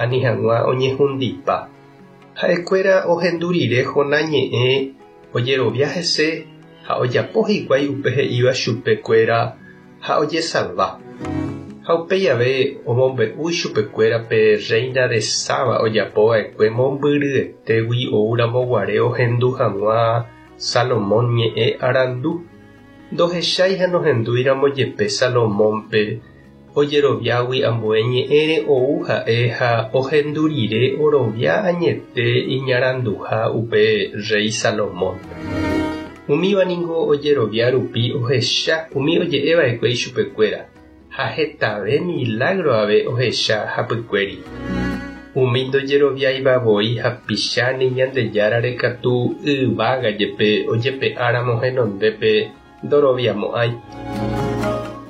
ani hag̃ua oñehundipa. Ha'ekuéra ohendu rire Jonás ñe'ẽ ojerovia hese ha ojapo hikuái upe he'íva chupe kuéra ha ojesalva. Ha upéi ave omombe'u ichupekuéra pe rréina de Saba ojapo va'ekue mombyryetégui oúramo guare ohendu hag̃ua Salomón ñe'ẽ arandu. Ndohechái ha nohendúiramo jepe Salomónpe, ojeroviágui ambue ñe'ẽre ou ha'e ha ohendu rire orovia añete iñaranduha upe rréi Salomón. Umíva ningo ojerovia rupi ohecha umi oje'e va'ekue ichupekuéra, ha hetave milágro ave ohecha hapykuéri. Umi ndojeroviáiva voi hapicha ni Ñandejárare katu yvága jepe ojepe'áramo henondépe ndoroviamo'ãi.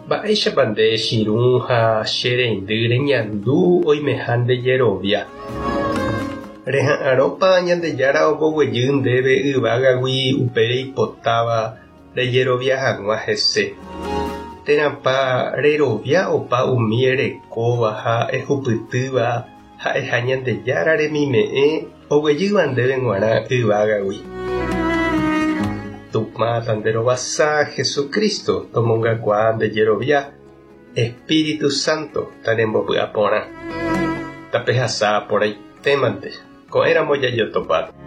Mba'éichapa nde chirũ ha che reindy reñandu oimeha nde jerovia? Reha'arõpa Ñandejára omboguejy ndéve yvágagui upe reipotáva rejerovia hag̃ua hese? Térãpa rerovia opa umi erekóva ha ehupytýva ha'eha Ñandejára remime'ẽ oguejýva ndéve g̃uarã yvágagui? Tupã tanderovasa Jesucristo tomongakuaa nde jerovia, Espíritu Santo tanembopy'aporã. Tapehasa porãitémante, ko'ẽramo jajotopáta.